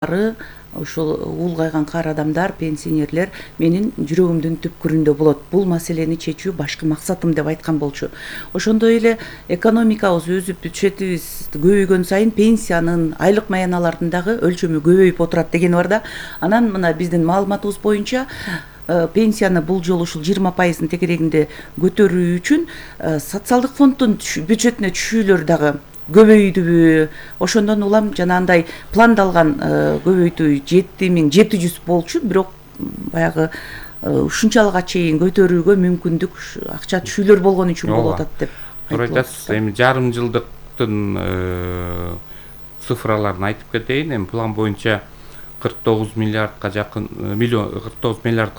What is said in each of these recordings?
ушул улгайган каар адамдар, пенсионерлер менин жүрөгүмдүн түпкүрүндө болот. Бул маселени чечүү башкы максатым деп айткан болчу. Ошондой эле экономикабыз өсүп, бюджетибиз көбөйгөн сайын пенсиянын, айлык маяналардын дагы өлчөмү көбөйүп отурат деген бар да. Анан мына биздин маалыматыбыз боюнча пенсияны бул жолу ушул 20% тегерегинде көтөрүү үчүн социалдык фонддун бюджетине түшүүлөр дагы көбөйдүбү. Ошондон улам жанагындай пландалган көбөйтүү 7700 болчу, бирок баягы ушунчалык чейин көтөрүүгө мүмкүндүк акча түшүүлөр болгон үчүн болуп атат деп туура айтасыз. Эми жарым жылдыктын цифраларын айтып кетейин. Эми план боюнча 49 миллиардка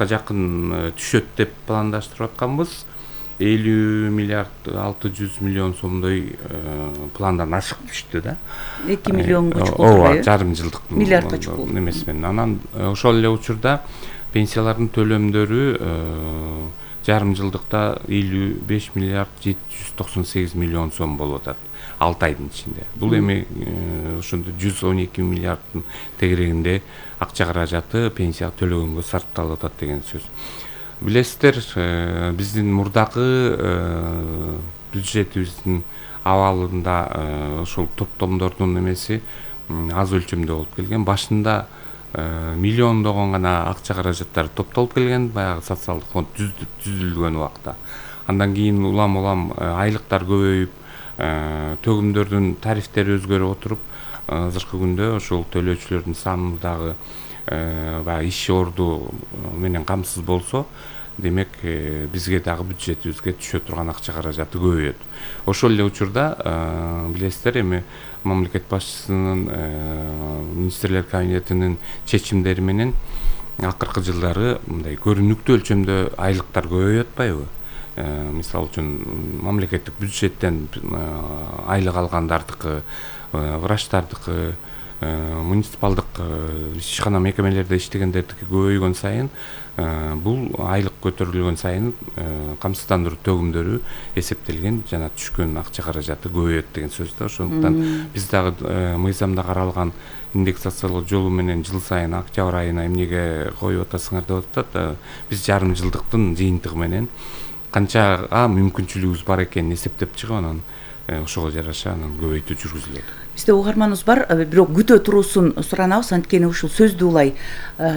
жакын түшөт деп пландаштырып атканбыз. 50 миллиард 600 миллион сомдой пландан ашык түштү да. 2 миллионго чукул. Ооба, жарым жылдык миллиардка чукул эмес менен. Анан ошол эле учурда пенсиялардын төлөмдөрү жарым жылдыкта 55 миллиард 798 миллион сом болуп атат 6 айдын ичинде. Бул эми ошондо 112 миллиарддын тегерегинде акча каражаты пенсия төлөгөнгө сарпталып атат деген сөз. Билесиздер, биздин мурдагы бюджетибиздин абалында ошол топтомдордун эмеси аз өлчөмдө болуп келген. Башында миллиондогон гана акча каражаттар топтолуп келген, баягы социалдык фонд түзүлгөн убакта. Андан кийин улам айлыктар көбөйүп, төгүмдөрдүн тарифтери өзгөрүп отуруп, азыркы күндө ошол төлөөчүлөрдүн саны дагы баягы иш орду менен камсыз болсо, демек бизге дагы бюджетибизге түшө турган акча каражаты көбөйөт. Ошол эле учурда билесиздер, эми мамлекет башчысынын министрлер кабинетинин чечимдери менен акыркы жылдары мындай көрүнүктүү өлчөмдө айлыктар көбөйүп атпайбы? Мисалы үчүн мамлекеттик бюджеттен айлык алгандардыкы, врачтардыкы, муниципалдык ишкана мекемелерде иштегендердики көбөйгөн сайын, бул айлык көтөрүлгөн сайын камсыздандыруу төгүмдөрү эсептелген жана түшкөн акча каражаты көбөйөт деген сөз да. Ошондуктан биз дагы мыйзамда каралган индексациялоо жолу менен жыл сайын октябрь айына эмнеге коюп атасыңар деп атат. Биз жарым жылдыктын жыйынтыгы менен канчага мүмкүнчүлүгүбүз бар экенин эсептеп чыгып, анан ошого жараша анан көбөйтүү жүргүзүлөт. Бизде угарманыбыз бар, бирок күтө туруусун суранабыз. Анткени ушул сөздү улай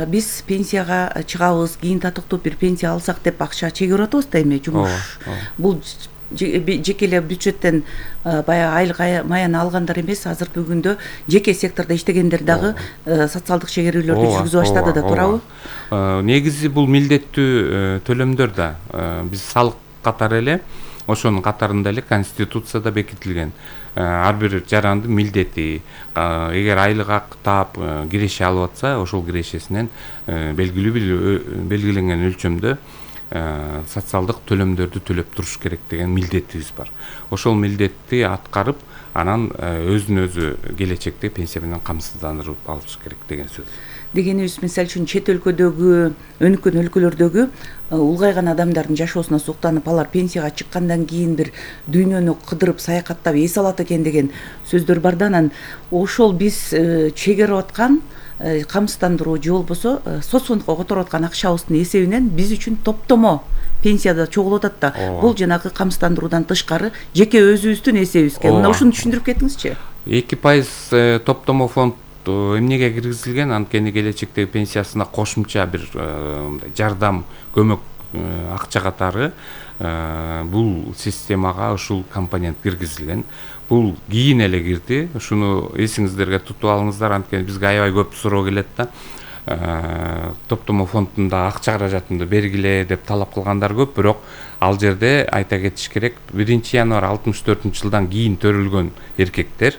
биз пенсияга чыгабыз, кийин татыктуу бир пенсия алсак деп акча чегирип атабыз да эми жумуш. Бул жеке эле бюджеттен баягы айлык маяны алгандар эмес, азыркы күндө жеке сектордо иштегендер дагы социалдык чегерүүлөрдү жүргүзүп баштады да, туурабы? Негизи бул милдеттүү төлөмдөр да. Биз салык катары эле, ошонун катарында эле Конституцияда бекитилген ар бир жарандын милдети, эгер айлык ак таап киреше алып атса, ошол кирешесинен белгиленген өлчөмдө социалдык төлөмдөрдү төлөп туруш керек деген милдетибиз бар. Ошол милдетти аткарып, анан өзүн өзү келечекте пенсия менен камсыздандырып алыш керек деген сөз. Дегенибиз, мисалы үчүн чет өлкөдөгү, өнүккөн өлкөлөрдөгү улгайган адамдардын жашоосуна суктанып, алар пенсияга чыккандан кийин бир дүйнөнү кыдырып, саякаттап эс алат экен деген сөздөр бар да. Анан ошол биз чегерип аткан камсыздандыруу же болбосо соцфондко которуп аткан акчабыздын эсебинен биз үчүн топтомо пенсияда чогулуп атат да. Бул жанагы камсыздандыруудан тышкары жеке өзүбүздүн эсебибизге. Мына ушуну түшүндүрүп кетиңизчи. 2% топтомо фонд эмнеге киргизилген? Анткени келечектеги пенсиясына кошумча бир жардам, көмөк акча катары бул системага ушул компонент киргизилген. Бул кийин эле кирди. Ушуну эсиңиздерге тутуп алыңыздар, анткени бизге аябай көп суроо келет да. Топтомо фондунда акча каражатымды бергиле деп талап кылгандар көп, бирок ал жерде айта кетиш керек, 1-январь 64-жылдан кийин төрөлгөн эркектер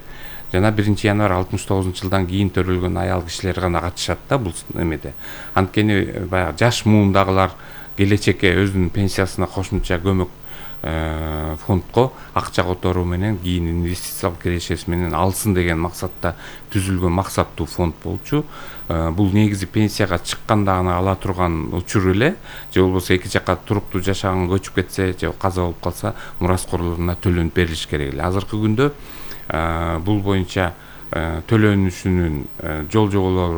жана 1-январь 69-жылдан кийин төрөлгөн аял кишилер гана катышат да бул эмеде. Анткени баягы жаш муундагылар келечекке өзүнүн пенсиясына кошумча көмөк фондко акча которуу менен кийин инвестициялык кирешеси менен алсын деген максатта түзүлгөн максаттуу фонд болчу. Бул негизи пенсияга чыкканда гана ала турган учур эле, же болбосо эки жакка туруктуу жашаган көчүп кетсе же каза болуп калса мураскорлоруна төлөнүп берилиш керек эле. Азыркы күндө бул боюнча төлөнүшүнүн жол жоболору